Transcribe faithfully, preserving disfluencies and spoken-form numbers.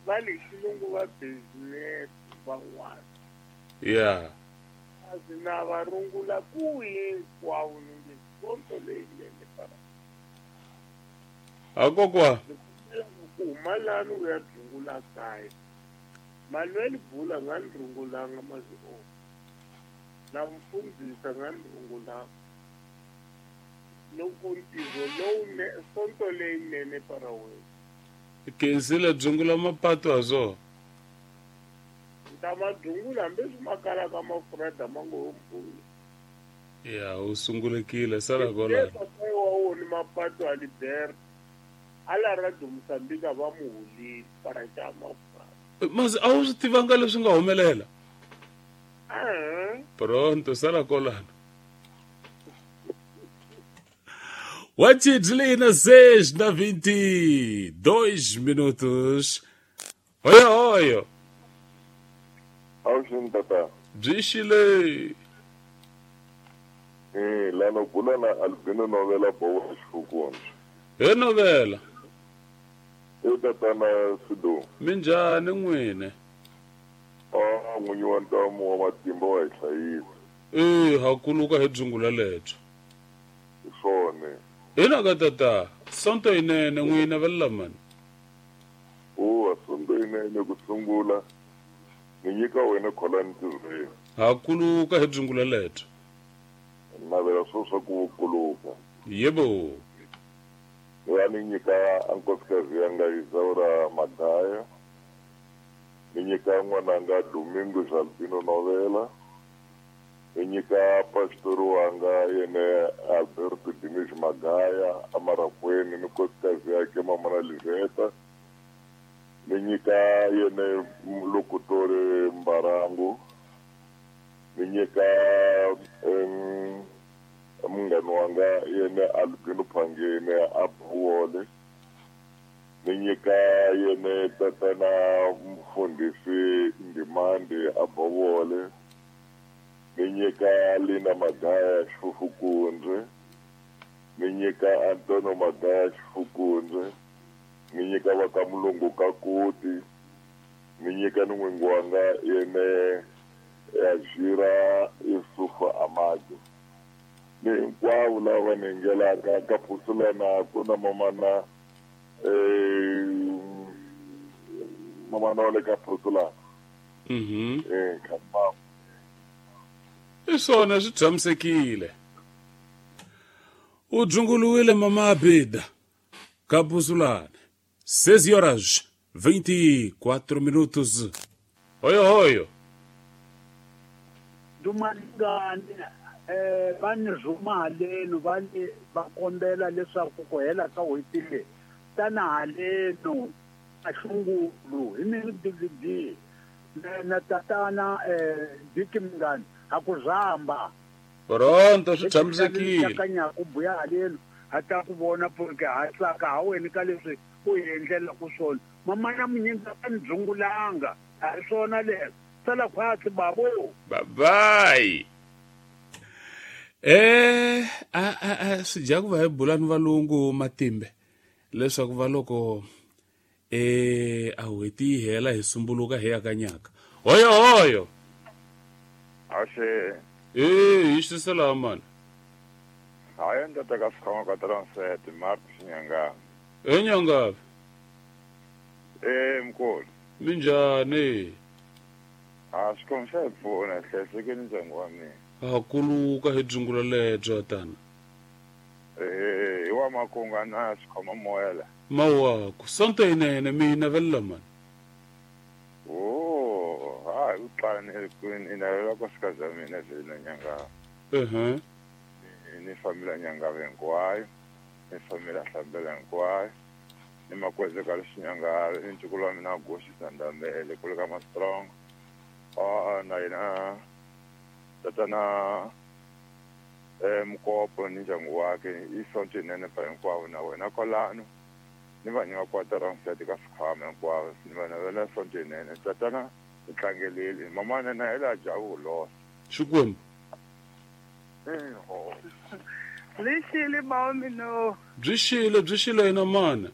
Va le xilungu va business van'wana. Yeah. Asi na va rungula ku hinkwavo ni nge sonto leyinene para. A kokwa. Ku huma lani u ya dzungula kaya. Manuel Bula nga ni rungulanga mazio. Na mfundhisi nga ni rungulanga. Loko ntirho lowu sonto leyinene para wena. Khensile dzungula mapatu ha swona. Ta madzungula hambi swi ma kalaka mafurha ma ngo mpfuni. Ya u sungulekile sala kwala. Wa wona mapatu a Liberta. Ala ra Mozambique va mu hulile para xa mafurha. Mas a wu swi tivanga leswi nga humelela? Eh. Pronto sala kwalano. Watidlina seis na vinte e dois minutos. Oyo oyo. Awuxini tata. Byi xile. Eh, lana bula na Albino Novela Bowa Xifukundzi. He Novela. E tatana Sido. Minjhani n'wini? Ah, n'winyi wa ntamu wa matimba wa hi hlayisa. Eh, ha kuluka hi dzungula lebyo. Hi swona. Hina ka tata, sonto yinene n'wina va lamani. Oh, sonto yinene ku sungula. Ni nyika wena khola ntirhweni. Ha kuluka hi dzungula lebyo. Navela swo swa ku kuluka. Yebo. Ya ni nyika ankosikazi yanga Isaura Magaya. Ni nyika n'wananga Domingo Albino Novela. Ni nyika pastor wanga yene Alberto Diniz Magaya amarakweni ni nkosikazi yake mama na Liveta. Ni nyika yene lokutori Mbarangu. Ni nyika um, munghana wanga yene Albino Phangene Abuwole. Ni nyika yene tatana mfundisi Ndimande Abowole. Ni nyika Lina Magaya Xifukundze. Ni nyika Antonio Magaya Xifukundze. Ni nyika va ka Mulungu Kakuti. Ni nyika ni n'wingi wanga yene Ajira Yusufa Amado. Ni hinkwavo lava ni nghelaka ka Phusulana ku na mamana eh mamana wa le ka Phusulana. Mhm. Eh kamba. I swona swi tshamisekile. U dzunguluwile mama Abida ka Phusulana. Seis horas vinte e quatro minutos. Hoyo hoyo. Dumalingani eh va ni rhuma haleno va ni va kombela leswaku ku hela ka n'hweti leyi tana haleno a xungulu hi ni D V D na tatana eh Diki Mngani ha ku rhamba. Pronto swi tshamisekile. Kanyaku buya haleno ha ta ku vona porque ha tsaka ha wena ka leswi u hi endlelaka swona. Mama na munyingi a ni dzungulanga a hi swona leswi. Sala khwatsi babo. Bye bye. Eh a a a swi dya ku va hi bula ni valungu matimbe leswaku va loko eh a n'hweti yi hela hi sumbuluka hi ya ka nyaka. Hoyo hoyo. Axe. Eh hi xisela mani. Hayi ndata ka sikhwama ka transit Mark Xinyanga. E Nyanga. Eh mkhulu. Minjhani? A xikwembu xa hi pfuna hlayisekeni ndyangu wa mina. Ha kuluka hi dzungula lebyo tana. Eh hi wa makunga na xikhoma moya la. Mawaku sonto yinene mina va lamani. Oh, hayi u tlane kwini ina la nkosikazi ya mina Zelina Nyanga. Mhm. Ni familia Nyanga hinkwayo, ni familia Hlambela hinkwayo, ni makweze ka Xinyanga, ni ntukulu wa mina Goshi Sandambele kule ka Mastrong. Ah na yena tatana eh Mkopo ni ndyangu wakhe i sonto yinene pa hinkwavo na wena kwalano ni va nyika kwatara mfati ka sikhwama hinkwavo ni va navela sonto yinene tatana ni tlangelile mamana na yena javu losa Xikwembu. Eh ho. Lixile mawmino. Byi xile byi xile yena mana.